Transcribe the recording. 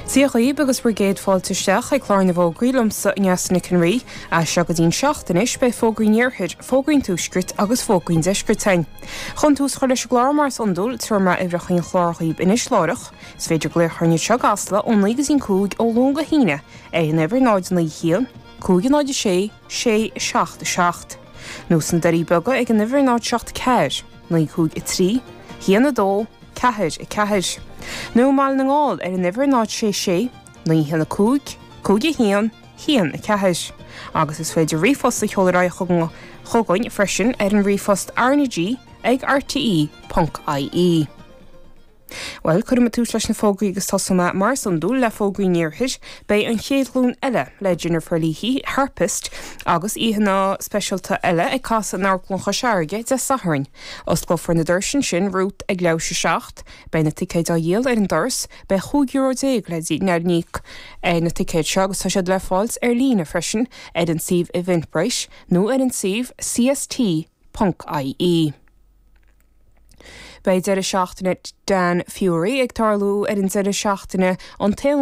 Dia dhaoibh agus bhur gcéad fáilte isteach ag clár na bhfógraí liomsa, Neasa Nic an Rí. As seo go dtí'n 7 anois beidh fógraí an Iarthair, fógraí an Tuaiscirt agus fógraí an Deiscirt againn. Chun tús a chur leis an gclár mar is iondúil, tabharfaidh mé uimhreacha an chláir dhaoibh anois láithreach. Is féidir glaoch orainn anseo i gCasla ó 9 go dtí'n 5 ó Luan go hAoine ar an uimhir 0 9 1 5 0 6 6 7 7 nó sna Doirí Beaga ag an uimhir 0 7 4 9 5 3 1 2 4, 4. Nó i mBaile na nGall ar an uimhir 0 6 6 9 1 5 5 1 1 4. Agus is féidir ríomhphost a sheoladh ar aghaidh chugainn freisin ar an ríomhphost rnag ag rte ponc ie. Bhuel, cuirfidh mé tús leis na fógraí agus tosóidh mé, mar is iondúil, le fógraí an Iarthair. Beidh An Chéad Ghlúin Eile le Jennifer Leahy, harpist, agus aíonna speisialta eile ag casadh in Amharclann Chois Fharraige Dé Sathairn. Osclófar na doirse ansin romhat ag leathuair tar éis a 7. Beidh na ticéid á dhíol ar an doras. Beidh €15 euro le n-íoc ar na ticéid seo agus tá siad le fáilt ar líne freisin ar an suíomh Eventbrite nó ar an suíomh cst.ie. Beidh deireadh seachtaine Dan Fury ag tarlú ar an deireadh seachtaine an t-aonú.